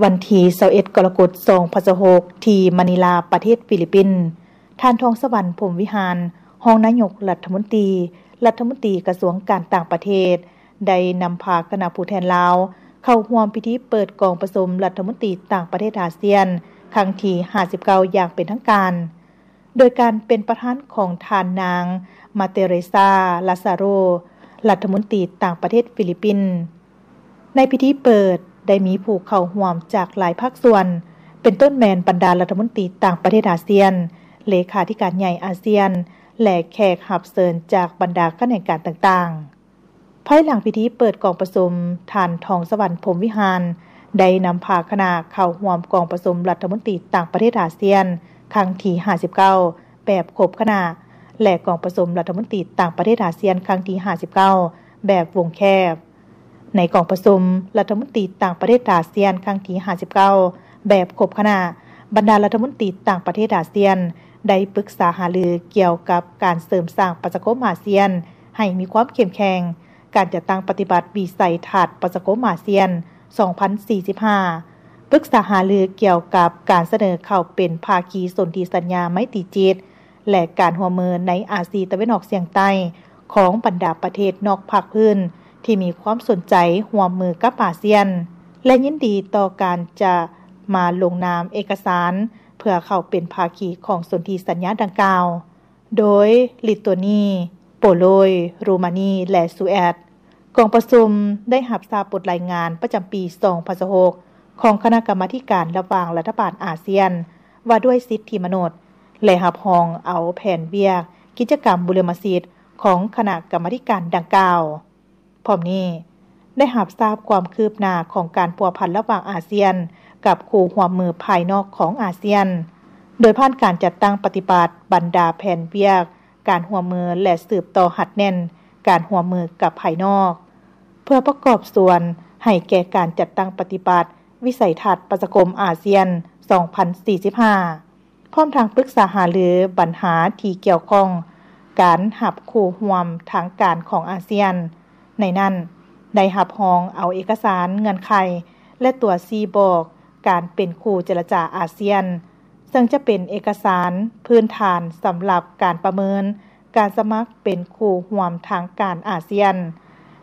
ວັນທີຊາວເອັດ ກໍລະກົດ ສອງພັນຊາວຫົກ ທີ່ມະນີລາ ປະເທດຟີລິບປິນ, ທ່ານ ທອງສະຫວັນ ພົມວິຫານ ຮອງນາຍົກລັດຖະມົນຕີ, ລັດຖະມົນຕີກະຊວງການຕ່າງປະເທດ ໄດ້ນຳພາຄະນະຜູ້ແທນລາວ ເຂົ້າຮ່ວມພິທີເປີດກອງປະຊຸມລັດຖະມົນຕີຕ່າງປະເທດອາຊຽນ ຄັ້ງທີຫ້າສິບເກົ້າ ຢ່າງເປັນທາງການ. ໂດຍການເປັນປະທານຂອງທ່ານນາງ ມາເຕເຣຊາ ລາຊາໂຣ ລັດຖະມົນຕີຕ່າງປະເທດຟີລິບປິນ. ໃນພິທີເປີດ ໄດ້ມີຜູ້ເຂົ້າຮ່ວມຈາກຫຼາຍພາກສ່ວນ, ເປັນຕົ້ນແມ່ນບັນດາລັດຖະມົນຕີຕ່າງປະເທດອາຊຽນ, ເລຂາທິການໃຫຍ່ອາຊຽນ ແລະ ແຂກຮັບເຊີນຈາກບັນດາຂະແໜງການຕ່າງໆ. ພາຍຫຼັງພິທີເປີດກອງປະຊຸມ, ທ່ານ ທອງສະຫວັນ ພົມວິຫານ ໄດ້ນຳພາຄະນະເຂົ້າຮ່ວມກອງປະຊຸມລັດຖະມົນຕີຕ່າງປະເທດອາຊຽນ ຄັ້ງທີຫ້າສິບເກົ້າ ແບບຄົບຄະນະ ແລະ ກອງປະຊຸມລັດຖະມົນຕີຕ່າງປະເທດອາຊຽນ ຄັ້ງທີຫ້າສິບເກົ້າ ແບບວົງແຄບ. ໃນກອງປະຊຸມລັດຖະມົນຕີຕ່າງປະເທດອາຊຽນ ຄັ້ງທີຫ້າສິບເກົ້າ ແບບຄົບຄະນະ, ບັນດາລັດຖະມົນຕີຕ່າງປະເທດອາຊຽນ ໄດ້ປຶກສາຫາລືກ່ຽວກັບການເສີມສ້າງປະຊາຄົມອາຊຽນ ໃຫ້ມີຄວາມເຂັ້ມແຂງ, ການຈັດຕັ້ງປະຕິບັດວິໄສທັດປະຊາຄົມອາຊຽນ ສອງພັນສີ່ສິບຫ້າ, ປຶກສາຫາລືກ່ຽວກັບການສະເໜີເຂົ້າເປັນພາຄີສົນທິສັນຍາໄມຕີຈິດ ແລະ ການຮ່ວມມືໃນອາຊີຕາເວັນອອກສຽງໃຕ້ ຂອງບັນດາປະເທດນອກພາກພື້ນທີ່ມີຄວາມສົນໃຈຮ່ວມມືກັບອາຊຽນ ແລະ ຍິນດີຕໍ່ການຈະມາລົງນາມເອກະສານ ເພື່ອເຂົ້າເປັນພາຄີຂອງສົນທິສັນຍາດັ່ງກ່າວ ໂດຍລິໂຕນີ, ໂປໂລຍ, ໂຣມານີ ແລະ ສະວີດ. ກອງປະຊຸມໄດ້ຮັບຊາບບົດລາຍງານປະຈຳປີສອງພັນຊາວຫົກ ຂອງຄະນະກຳມາທິການລະຫວ່າງລັດຖະບານອາຊຽນ ວ່າດ້ວຍສິດທິມະນຸດ ແລະ ຮັບຮອງເອົາແຜນວຽກກິດຈະກຳບຸລິມະສິດຂອງຄະນະກຳມາທິການດັ່ງກ່າວ. ພ້ອມນີ້, ໄດ້ຮັບຊາບຄວາມຄືບໜ້າຂອງການພົວພັນລະຫວ່າງອາຊຽນກັບຄູ່ຮ່ວມມືພາຍນອກຂອງອາຊຽນ, ໂດຍຜ່ານການຈັດຕັ້ງປະຕິບັດບັນດາແຜນວຽກການຮ່ວມມື ແລະ ສືບຕໍ່ຮັດແໜ້ນການຮ່ວມມືກັບພາຍນອກ, ເພື່ອປະກອບສ່ວນໃຫ້ແກ່ການຈັດຕັ້ງປະຕິບັດວິໄສທັດປະຊາຄົມອາຊຽນສອງພັນສີ່ສິບຫ້າ. ພ້ອມທັງປຶກສາຫາລືບັນຫາທີ່ກ່ຽວຂ້ອງການຮັບຄູ່ຮ່ວມທາງການຂອງອາຊຽນ. ໃນນັ້ນ, ໄດ້ຮັບຮອງເອົາເອກະສານເງື່ອນໄຂ ແລະ ຕົວຊີ້ບອກການເປັນຄູ່ເຈລະຈາອາຊຽນ, ເຊິ່ງຈະເປັນເອກະສານພື້ນຖານສຳລັບການປະເມີນການສະໝັກເປັນຄູ່ຮ່ວມທາງການອາຊຽນ,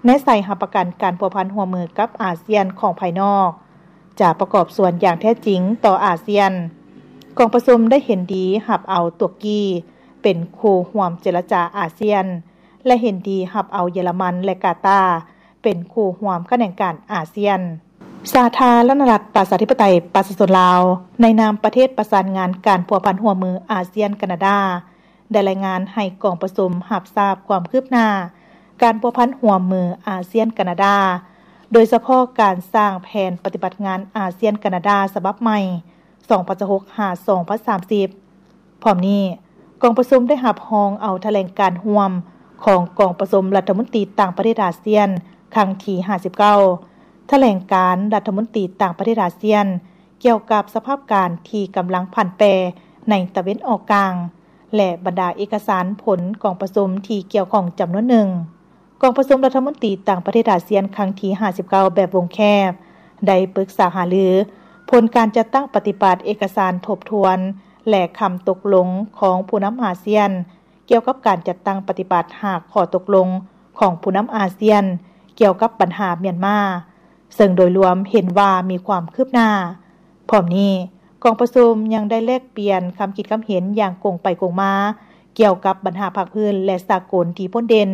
ແນໃສ່ຮັບປະກັນການພົວພັນຮ່ວມມືກັບອາຊຽນຂອງພາຍນອກ ຈະປະກອບສ່ວນຢ່າງແທ້ຈິງຕໍ່ອາຊຽນ. ກອງປະຊຸມໄດ້ເຫັນດີຮັບເອົາຕຸກກີເປັນຄູ່ຮ່ວມເຈລະຈາອາຊຽນ ແລະ ເຫັນດີຮັບເອົາເຢຍລະມັນ ແລະ ກາຕາເປັນຄູ່ຮ່ວມຂະແໜງການອາຊຽນ. ສາທາລະນະລັດປະຊາທິປະໄຕປະຊາຊົນລາວ ໃນນາມປະເທດປະສານງານການພົວພັນຮ່ວມມືອາຊຽນ-ການາດາ ໄດ້ລາຍງານໃຫ້ກອງປະຊຸມຮັບຊາບຄວາມຄືບໜ້າການພົວພັນຮ່ວມມືອາຊຽນ-ການາດາ, ໂດຍສະເພາະການສ້າງແຜນປະຕິບັດງານອາຊຽນ-ການາດາສະບັບໃໝ່ ສອງພັນຊາວຫົກ ຫາ ສອງພັນສາມສິບ. ພ້ອມນີ້, ກອງປະຊຸມໄດ້ຮັບຮອງເອົາຖະແຫຼງການຮ່ວມຂອງກອງປະຊຸມລັດຖະມົນຕີຕ່າງປະເທດອາຊຽນ ຄັ້ງທີຫ້າສິບເກົ້າ, ຖະແຫຼງການລັດຖະມົນຕີຕ່າງປະເທດອາຊຽນ ກ່ຽວກັບສະພາບການທີ່ກຳລັງຜັນແປໃນຕາເວັນອອກກາງ ແລະ ບັນດາເອກະສານຜົນກອງປະຊຸມທີ່ກ່ຽວຂ້ອງຈຳນວນໜຶ່ງ. ກອງປະຊຸມລັດຖະມົນຕີຕ່າງປະເທດອາຊຽນຄັ້ງທີຫ້າສິບເກົ້າແບບວົງແຄບ ໄດ້ປຶກສາຫາລືຜົນການຈັດຕັ້ງປະຕິບັດເອກະສານທົບທວນ ແລະ ຄຳຕົກລົງຂອງຜູ້ນຳອາຊຽນ ກ່ຽວກັບການຈັດຕັ້ງປະຕິບັດຫ້າຂໍ້ຕົກລົງຂອງຜູ້ນຳອາຊຽນ ກ່ຽວກັບບັນຫາມຽນມາ, ເຊິ່ງໂດຍລວມເຫັນວ່າມີຄວາມຄືບໜ້າ. ພ້ອມນີ້, ກອງປະຊຸມຍັງໄດ້ແລກປ່ຽນຄຳຄິດຄຳເຫັນຢ່າງກົງໄປກົງມາ ກ່ຽວກັບບັນຫາພາກພື້ນ ແລະ ສາກົນທີ່ພົ້ນເດັ່ນ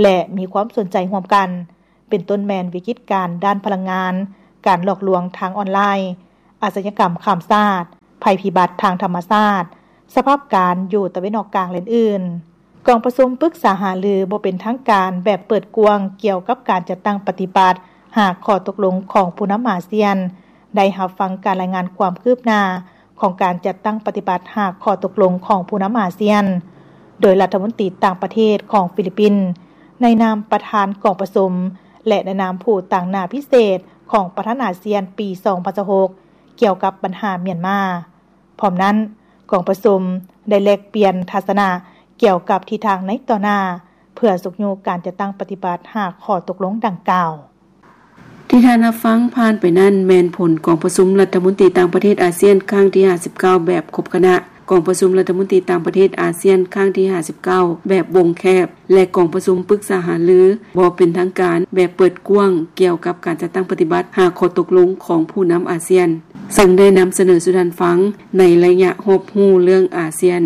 ແລະ ມີຄວາມສົນໃຈຮ່ວມກັນ, ເປັນຕົ້ນແມ່ນວິກິດການດ້ານພະລັງງານ, ການຫຼອກລວງທາງອອນລາຍ, ອາຊະຍາກຳຂ້າມຊາດ, ໄພພິບັດທາງທຳມະຊາດ, ສະພາບການຢູ່ຕາເວັນອອກກາງ ແລະ ອື່ນໆ. ກອງປະຊຸມປຶກສາຫາລືບໍ່ເປັນທາງການແບບເປີດກວ້າງກ່ຽວກັບການຈັດຕັ້ງປະຕິບັດຫ້າຂໍ້ຕົກລົງຂອງຜູ້ນຳອາຊຽນ ໄດ້ຮັບຟັງການລາຍງານຄວາມຄືບໜ້າຂອງການຈັດຕັ້ງປະຕິບັດຫ້າຂໍ້ຕົກລົງຂອງຜູ້ນຳອາຊຽນ ໂດຍລັດຖະມົນຕີຕ່າງປະເທດຂອງຟີລິບປິນ ໃນນາມປະທານກອງປະຊຸມ ແລະ ໃນນາມຜູ້ຕາງໜ້າພິເສດຂອງປະທານອາຊຽນປີສອງພັນຊາວຫົກ ກ່ຽວກັບບັນຫາມຽນມາ. ພ້ອມນັ້ນ, ກອງປະຊຸມໄດ້ແລກປ່ຽນທັດສະນະກ່ຽວກັບທິດທາງໃນຕໍ່ໜ້າ ເພື່ອຊຸກຍູ້ການຈັດຕັ້ງປະຕິບັດຫ້າຂໍ້ຕົກລົງດັ່ງກ່າວ. ທີ່ທ່ານຮັບຟັງຜ່ານໄປນັ້ນ ແມ່ນຜົນກອງປະຊຸມລັດຖະມົນຕີຕ່າງປະເທດອາຊຽນຄັ້ງທີຫ້າສິບເກົ້າ ແບບຄົບຄະນະ, ກອງປະຊຸມລັດຖະມົນຕີຕ່າງປະເທດອາຊຽນຄັ້ງທີຫ້າສິບເກົ້າ ແບບວົງແຄບ ແລະ ກອງປະຊຸມປຶກສາຫາລືບໍ່ເປັນທາງການແບບເປີດກວ້າງ ກ່ຽວກັບການຈັດຕັ້ງປະຕິບັດຫ້າຂໍ້ຕົກລົງຂອງຜູ້ນຳອາຊຽນ, ເຊິ່ງໄດ້ນຳສະເໜີສູ່ທ່ານຟັງໃນໄລຍະຮອບຮູ້ເລື່ອງອາຊຽນ.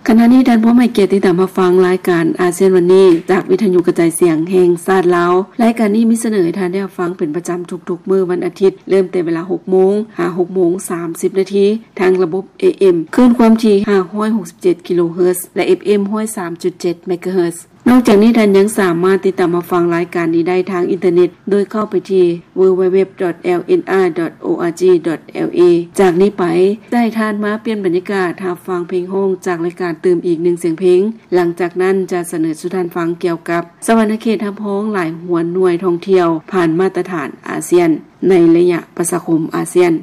ຂະນະນີ້ທ່ານພ້ອມໃຫ້ກຽດຕິດຕາມຮັບຟັງລາຍການອາຊຽນວັນນີ້ ຈາກວິທະຍຸກະຈາຍສຽງແຫ່ງຊາດລາວ. ລາຍການນີ້ມີສະເໜີໃຫ້ທ່ານໄດ້ຮັບຟັງເປັນປະຈຳທຸກໆມື້ວັນອາທິດ ເລີ່ມແຕ່ເວລາຫົກໂມງຫາຫົກໂມງສາມສິບນາທີ ທາງລະບົບ ເອເອັມ ຄື້ນຄວາມຖີ່ຫ້າຮ້ອຍຫົກສິບເຈັດກິໂລເຮີດ ແລະ ເອັຟເອັມ ຮ້ອຍສາມຈຸດເຈັດເມກາເຮີດ. ນອກຈາກນີ້ທ່ານຍັງສາມາດຕິດຕາມຮັບຟັງລາຍການນີ້ໄດ້ທາງອິນເຕີເນັດ ໂດຍເຂົ້າໄປທີ່ www.lnr.org.la. ຈາກນີ້ໄປ ຈະໃຫ້ທ່ານມາປ່ຽນບັນຍາກາດຮັບຟັງເພງຮ້ອງຈາກລາຍການຕື່ມອີກໜຶ່ງສຽງເພງ. ຫຼັງຈາກນັ້ນຈະສະເໜີສູ່ທ່ານຟັງກ່ຽວກັບສະຫວັນນະເຂດຮັບຮອງຫຼາຍຫົວໜ່ວຍທ່ອງທ່ຽວຜ່ານມາດຕະຖານອາຊຽນ ໃນໄລຍະປະຊາຄົມອາຊຽນ.